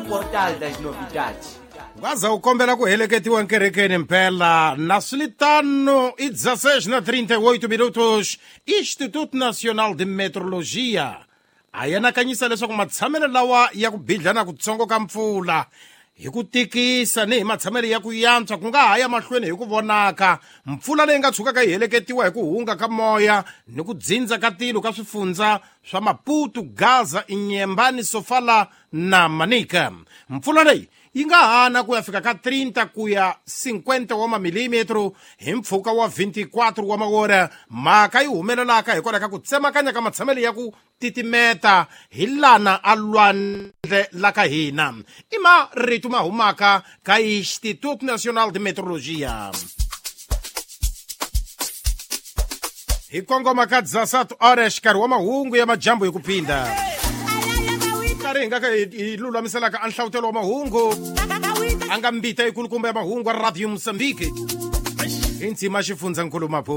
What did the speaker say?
Portal das novidades. Waza u kombela ku heleketiwa nkerekeni mpela na swi i 16 na 38 minutos. Instituto Nacional de Metrologia a yanakanyisa leswaku matshamelo lawa ya ku bidla na kutsongo ka mpfula hi ku tikisa ni hi matshamelo ya ku yantswa ku nga ha ya mahlweni hi ku vonaka mpfula leyi nga tshukaka yi heleketiwa hi ku hunga ka moya ni ku dzindza ka tilo ka swifundza swa Maputo, Gaza, Inyembani, Sofala na Manica. Mpfula leyi yi nga hana ku ya fika ka 30 ku ya 50 wa mamilimetro hi mpfhuka wa 24 wa mawora. Mhaka yi humelelaka hikwalaho ka ku tsemakanya ka matshamelo ya ku titimeta hi lana a lwandle la ka hina. I marito ma humaka ka Instituto Nacional de Metrologia. Hi kongoma ka 17 horas, nkarhi wa mahungu ya majambu hi ku phinda nkarhi hi nga ka hi lulamiselaka a nhlawutelo wa mahungu a nga mbita yikulukumba ya mahungu a Radio Mosambiki hi ndzima xifundzankulu Maputo.